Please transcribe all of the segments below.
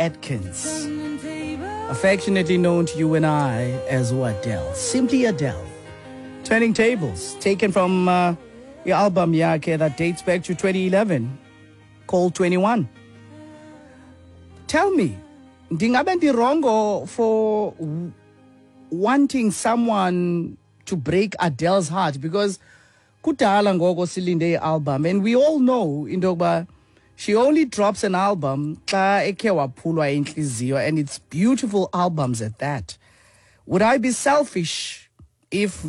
Atkins, affectionately known to you and I as Adele, simply Adele. Turning Tables, taken from the album yakhe that dates back to 2011, called 21. Tell me, ndingabe ndirongo for wanting someone to break Adele's heart? Because kudala ngoko silinde i-album, and we all know into yokuba she only drops an album xa ekhe waphulwa intliziyo, and it's beautiful albums at that. Would I be selfish if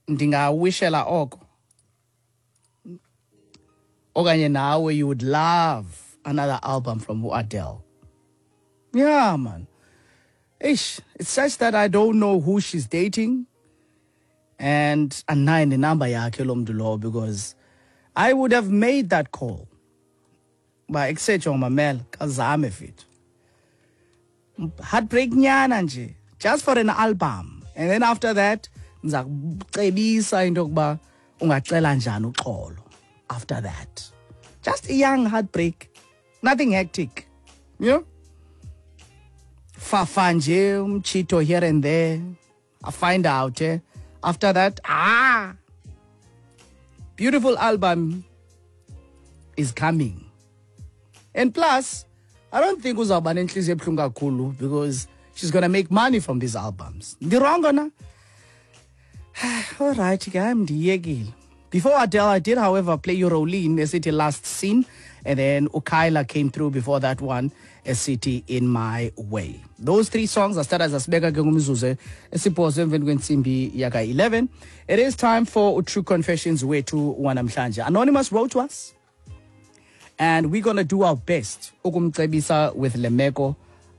ndingawishela oko? Okanye nawe you would love another album from Adele? Yeah, man. Ish, it's such that I don't know who she's dating, and andinayo nenamba yakhe lo mntu lowo, because I would have made that call. Ba ekusetsho mamela kazame fit. Heartbreak nyana nje, just for an album. And then after that, ndiza kucebisa into yokuba ungacela njani uxolo after that. Just a young heartbreak. Nothing hectic. You know? Fafa nje umchito here and there. I find out. After that, beautiful album is coming. And plus, I don't think uzawuba nenhliziyo ebuhlungu kakhulu, because she's going to make money from these albums. Ndirongo na? All right, ke ndiyekile. Before Adele, I did, however, play you Rolene, esithi Last Scene, and then Ukyla came through before that one, esithi In My Way. Those three songs are started as asibeka ke ngumzuzu esibhozo emveni kwentsimbi yaka 11. It is time for True Confessions wethu wanamhlanje. Anonymous wrote to us, and we're going to do our best ukumcebisa with lemeko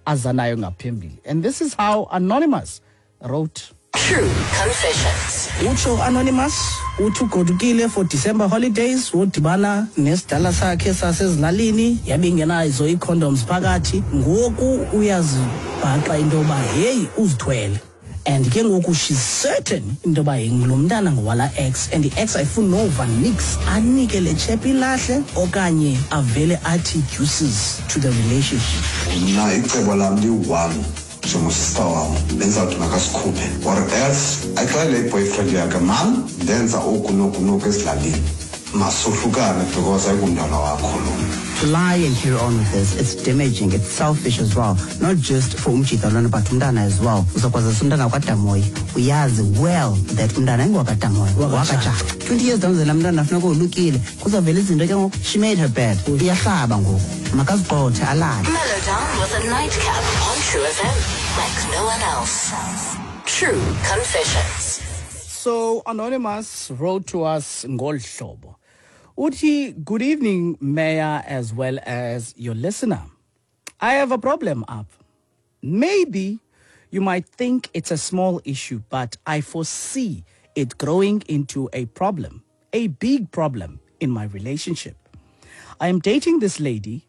azanayo ngaphambili. And this is how Anonymous wrote. True Confessions. Utsho Anonymous, uthi ugodukile for December holidays, wodibana nesidala sakhe sasezilalini, yabe ingenazo ii-condoms phakathi. Ngoku uyazibhaqa into yoba heyi uzithwele. And ke ngoku she's certain into yoba lo mntana ngowala ex, and i-ex ayifuni nova nix, anike le chep ilahle okanye avele athi deuces to the relationship. Mna icebo lam liyi-one njengosista wam, benzawuthi makasikhuphe or else axelele i-boyfriend yakhe, mam, ndenza oku noku noku ezilalini, masohlukane because ayingumntwana wakho lo. To lie and carry on with this, it's damaging, it's selfish as well. Not just for umjita lona, but umntana as well. Uzokwazisa umntana wakwaDamoyi, uyazi well that umntana ayingowakwaDamoyi, wakaJaka. 20 years down the line, umntana funeka olukile. Kuzawuvela izinto ke ngoku. She made her bed. Iyahlaba ngoku. Makazigqothe alale. Mellow down with a nightcap on True FM, like no one else. True Confessions. So Anonymous wrote to us ngolu hlobo. Uthi, good evening, Mayor, as well as your listener. I have a problem up. Maybe you might think it's a small issue, but I foresee it growing into a problem, a big problem in my relationship. I am dating this lady,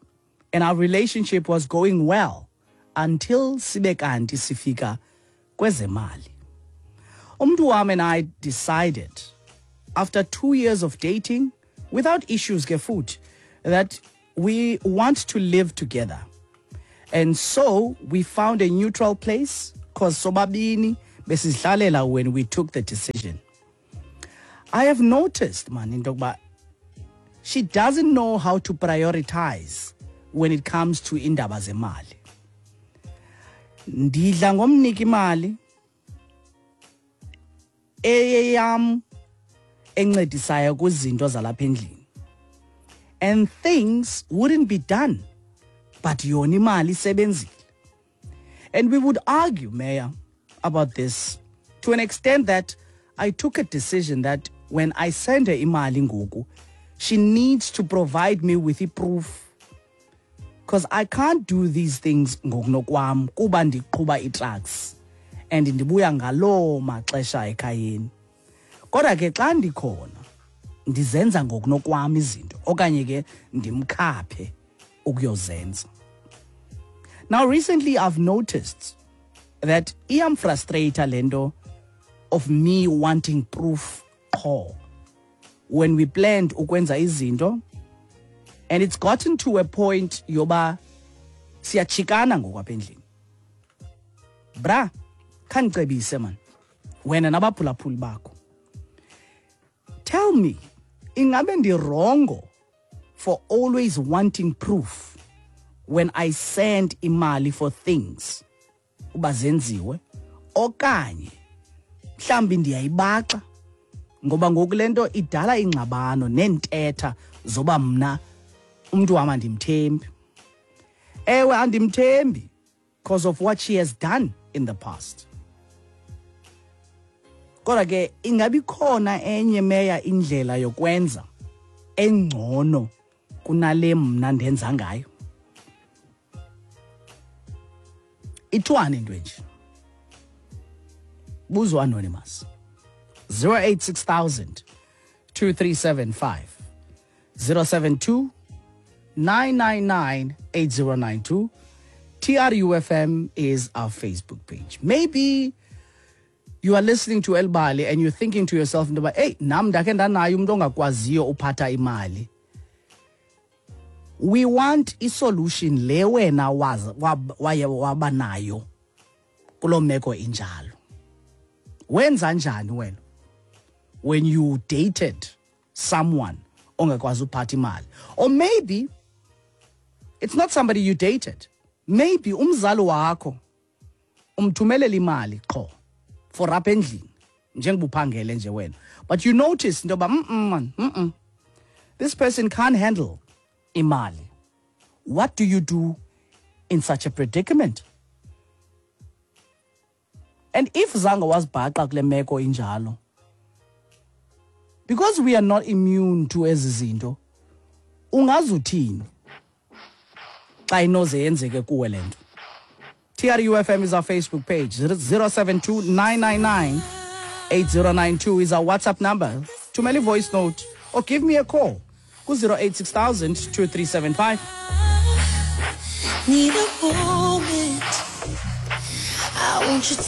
and our relationship was going well until sibe kanti sifika kwezemali. Umntu wam and I decided, after 2 years of dating, without issues ke futhi, that we want to live together. And so we found a neutral place, because sobabini besizihlalela when we took the decision. I have noticed, man, into yokuba she doesn't know how to prioritize when it comes to indaba zemali. Ndidla ngomnika imali eyeyam encedisayo kwizinto zalapha endlini. And things wouldn't be done, but yona imali isebenzile. And we would argue, Mayor, about this to an extent that I took a decision that when I send her imali ngoku, she needs to provide me with i-proof, because I can't do these things ngokunokwam kuba ndiqhuba ii-trucks and ndibuya ngaloo maxesha ekhayeni. Kodwa ke xa ndikhona ndizenza ngokunokwam izinto okanye ke ndimkhaphe ukuyozenza. Now recently I've noticed that iyamfrustrate le nto of me wanting proof qho when we planned ukwenza izinto, and it's gotten to a point yoba Siyachikana ngoku apha endlini. Bra, khandicebise man, wena nabaphulaphuli bakho. Tell me, ingabe ndi-wrong for always wanting proof when I send imali for things uba zenziwe, okanye mhlambi ndiyayibaxa ngoba ngoku le nto idala ingxabano neentetha zoba mna umntu wam andimthembi? Ewe, andimthembi because of what she has done in the past. Kodwa ke ingabi khona enye meya indlela yokwenza engcono kunale mna ndenza ngayo? Ithwani into enje? Buzo anonymous. 086 2375 072 999 8092. TRUFM is our Facebook page. Maybe you are listening to Elbali and you're thinking to yourself into yoba, hey, nam ndakhe ndanayo umntu ongakwaziyo uphatha imali. We want isolution le wena waye waba nayo kuloo meko injalo. Wenza njani wena when you dated someone ongakwazi uphatha imali? Or maybe it's not somebody you dated. Maybe umzali wakho umthumelela imali qho for apha endlini njengoba uphangele nje wena, but you notice into yoba man, this person can't handle imali. What do you do in such a predicament? And if zange wazibhaqa kule meko injalo, because we are not immune to ezi zinto, ungazuthini xa inoze yenzeke kuwe le nto? TRUFM is our Facebook page. 072 999 8092 is our WhatsApp number. Thumela voice note or give me a call ku 086 2375. Need a moment. I want you to